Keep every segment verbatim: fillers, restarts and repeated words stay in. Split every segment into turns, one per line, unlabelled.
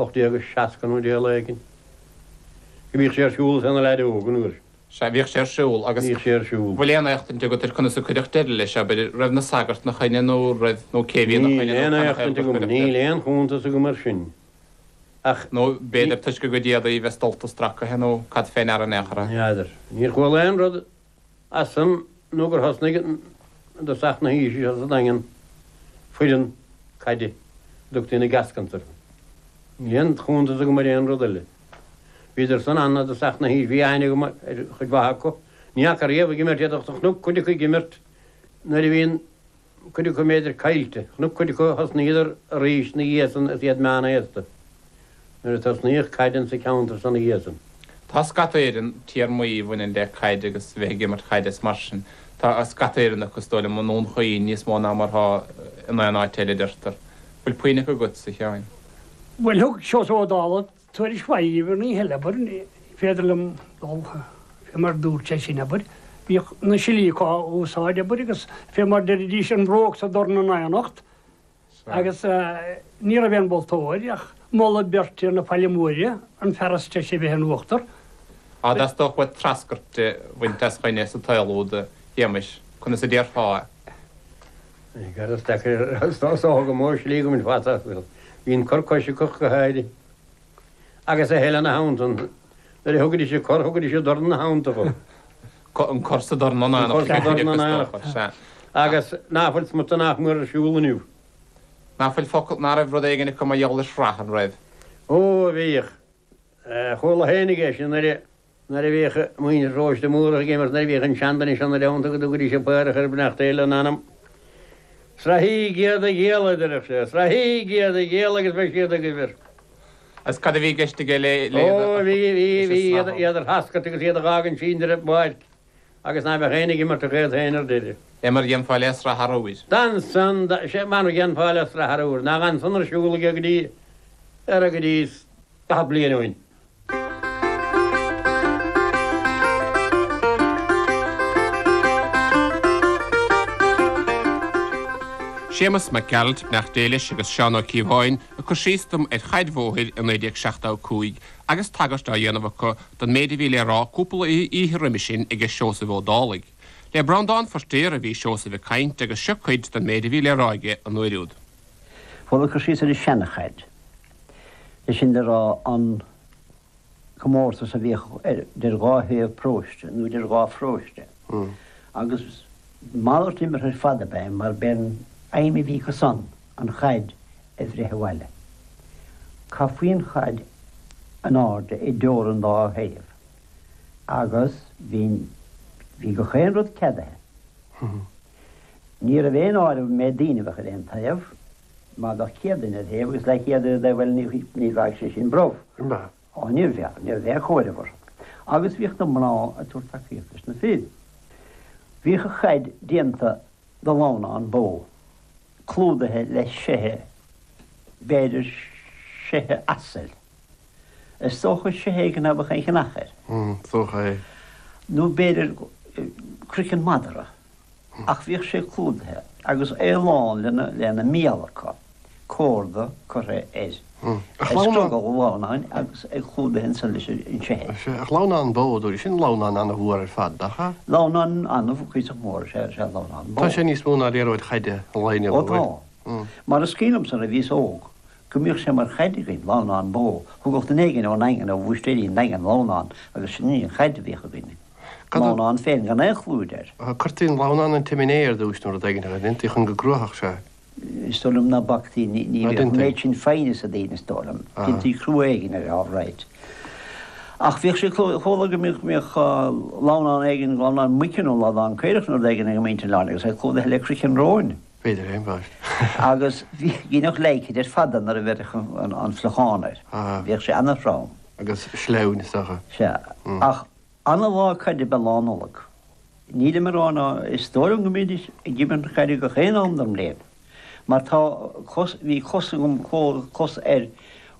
ocht déag seasca nó deich lá éigin. Go mbíodh sé ar siúl is é ina leaid óg an uair.
Sea, bhíodh sé ar siúl agus.
Bhíodh sé ar siúl.
Bhfuil aon éachtaint agat ar conas a cuireadh deireadh leis, abair, raibh na sagairt 'na choinne nó raibh, nó cé bhí 'na
Níl
choinne
aon
nó canathaobh
éachtaint
gur
agam,
cuireadh
níl
deireadh?
aon chuntas agam air sin. Ach
Nó
ní.
b'fhéidir toisc a gcuid éadaí a bheith stolta stracaithe nó cad fé ndeara in aon chor é?
N'fheadar. Níor chuala aon rud as san nó gur thosnaigh i dtosach na haoise seo sa Daingean foireann caide a dtugtaí na Gascons orthu. Níl aon chuntas agam ar aon rud eile. Bhíodar san ann i dtosach na haoise, bhí aithne agam ar chuid mhaith acu. Ní fhaca riamh ag imirt iad ach do chonac cuid acu ag imirt nuair a bhí an cuid acu mb'fhéidir caillte. Chonac cuid acu thosnaíodar arís ina dhiaidh san is iad meánaosta nuair a tosnaíodh caid insa cheantar san ina dhiaidh san.
Tá scata Éireann téarmaí a bhaineann le caid agus bheith ag imirt chaide is mar sin. Tá scata Éireannach is dóigh liom i nDún Chaoin níos mó ná mar atá in aon áit eile, deirtear. Bhfuil puinn acu agatsa, a Sheáin?
Bhuel, thug Seosamh Ó Dálaigh tuairisc mhaith dhaoibh ar an oíche eile, abair, ní féidir liom dul fé mar dúirt sé sin, abair. Bhíodh na slí acu á úsáid, abair, agus fé mar deiridís an bhróg sa dorn in aonacht. Agus ní raibh aon mholtóir, ach moladh beirt ar na Faille Móire, an fear is deise a bheith in uachtar.
Á dteastódh uait treascairt a bhaint as dhuine sa tsaol úd, a Shéamais, conas a déarfá é?
Gar is deacair is dócha go mó slí go mbainfeá as. Bhí an cur coise acu go háirithe. Agus a thuilleadh ina theannta. Nuair a thugaidís an cor, thugaidís an dorn ina theannta dhó.
An cor sa dorn
An cor sa dorn in éineacht. Agus ná fuil smut nach mór ar siúl inniu.
Ná fuil focal, ná raibh rud éigin acu mar gheall ar shraith, an raibh?
Ó, bhíodh. Chuala féinig é sin nuair a, nuair a bhíodh muintir Phróiste Múrach ag imirt, nuair a bhíodh an seanduine seo ina dteannta go dtugaidís an paorach ar beannacht Dé lena anam. Srathaígí iad a ghialla, a deireadh sé, srathaígí iad a ghialla agus beidh siad agaibh air.
Agus cad a bhí i gceist aige le, le iad
Ó,
a,
bhí, bhí,
leis an
bhí iad,
srathú?
iad a threascairt agus iad a dh'fhágaint sínte ar an bpáirc. Agus ná beadh éinne ag imirt ach iad féin ar deireadh.
É mar a dhéanfá le sraith arbhair.
D'fhan san, sé mar a dhéanfá le sraith arbhair, nach fhan san ar siúl aige go dtí, ar go dtí daichead bliain ó shin.
Séamus Mac Gearailt, beannacht Dé leis, agus Seán Ó Cíobháin ag cur síos dom ar chaid bhóthair i naoi déag seachtó a cúig agus tagairt á dhéanamh acu don méid a bhí le rá cúpla oíche roimhe sin aige Seosamh Ó Dálaigh. Le Breandán Feirtéar a bhí Seosamh ag caint agus seo cuid den méid a bhí le rá aige an uair úd.
Bhuel, ag cur síos ar an seana-chaid, é sin le rá an comórtas a bhíodh idir dhá thaobh paróiste nó idir dhá pharóiste agus malairt imeartha ar fad ab ea é mar b'é an aidhm a bhí acu san an chaid a bhreith abhaile. Chaithfí an chaid in airde i dteorainn dá thaobh agus bhí bhí gach aon rud ceadaithe. Ní raibh aon áireamh an méid daoine a bheadh ar aon taobh, má bheadh céad duine ar thaobh agus leathchéad ar an dtaobh eile ní ní bheadh sé sin brobh. Á ní bheadh, ní raibh aon chomhaireamh orthu. Agus bhíodh na mná ag tabhairt tacaíocht leis na fir. Bhíodh an chaid déanta de lamhnán bó, clúdaithe le seithe, b'fhéidir seithe asail. Is dócha seithe éigin ná beadh aon chnach air.
Is dócha é.
Nó b'fhéidir craiceann madra. Ach bhíodh sé clúdaithe agus é lán lena lena mial acu, córda curtha ar
Ach
ar
lamhnán.
scrogall an lamhnáin agus é clúdaithe ansan leis an seithe.
Sea, ach lamhnán bó, a dúirt, sin lamhnán an-mhór ar fad, nach ea?
Lamhnán an-chuíosach mór is ea is ea lamhnán bó.
Tá sé níos mó ná liathróid chaide an lae inniu,
Ó
an bhfuil?
tá. Mar is cuimhin liomsa nuair a bhíos óg go mbíodh sé mar chaid againn, lamhnán bó. Thugadh duine éigin ón nDaingean, ó Bhúistéirí an Daingin, lamhnán agus sin í an chaid a bhíodh againn.
Cad a.
Lamhnán féin gan aon chlúid air.
Cuirtí an lamhnán 'na tsiméiné ar dtúis nó rud éigin, an ndéantaí chun go gcruafadh sé?
Is dóigh liom ná bactaí, ní
Ná
bhíodh an
déantaí.
méid sin foighne sa daoine is dóigh liom. Déantaí crua éigin air, all right. Ach bhíodh sé, chuala go mbíodh, mbíodh lamhnán éigin, lamhnán muice nó lamhnán caorach nó rud éigin ag muintir an oileáin agus é clúdaithe le croiceann róin.
B'fhéidir é, ambaist.
Agus bhí, dheineadh leidhcid ar fada nuair a bheireadh an, an fliuchán air. Bhíodh sé ana-throm.
Agus sleamhain is dócha.
Sea. Ach ana-lá caide ab ea Lá Nollag. Nílim ag rá ná is dóigh liom go mbídís ag imirt caide gach aon am den mbliain. Mar tá cos, bhí cos agam, cos ar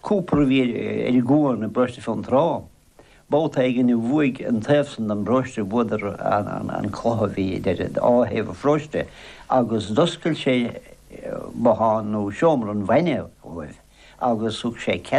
cúpar a bhí ar an gcuan i bparóiste Fionntrá. Babhta éigin a bhuaigh an taobh san den bparóiste, bhuadar an cluiche a bhí idir dhá thaobh an pharóiste agus d'oscail sé bothán nó seomra an bhainne dhóibh agus thug sé cead